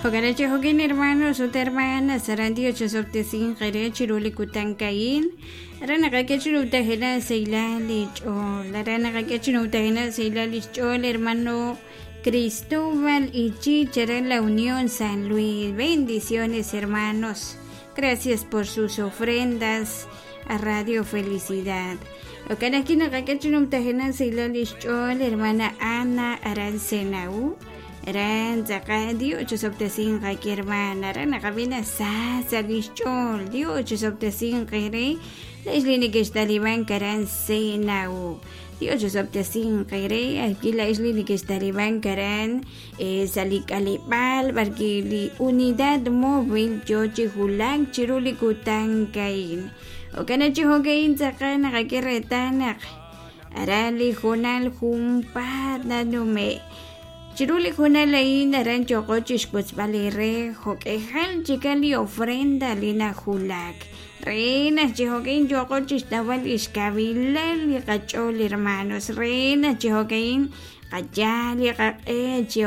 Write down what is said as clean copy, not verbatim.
Jo'kan chi jo'kin hermanos ut hermanas aran Dios chosob'tesinq eere chiru li kutan a'in. Aran naqak'e chi numtajenaq sahilal li ch'ool. Aran naqak'e chi numtajenaq sahilal li xch'ool hermano Cristóbal Ichich aran La Unión San Luis. Bendiciones hermanos. Gracias por sus ofrendas a Radio Felicidad. Jo'kan ajwi' naqak'e chi numtajenaq sahilal li xch'ool hermana Ana aran Senau. Aran tz'aqal Dios chosob'tesinq qak'e hermana. Aran naqab'i naq sa sa' li xch'ool Dios chosob'tesinq eere laa'ex li nekextalibank aran Senau. Dios chosob'tesinq eere ajwi' laa'ex li nekextalibank aran sa' li k'aleb'aal b'arwi' li unidad móvil yo chi wulak chiru li kutan a'in. Jo'kan chi jo'ka'in tz'aqal naqak'e reetal naq aran li hoonal junpaat nanume'. Chiru li hoonal a'in aran yooqo chixwotzb'al eere jo'k'ejal chikan li ofrenda li najulak. Re naq chi jo'ka'in yooqo chixtawb'al lix kawilal li qach'ool hermanos. Re naq chi jo'ka'in qayal li qaq'e chi.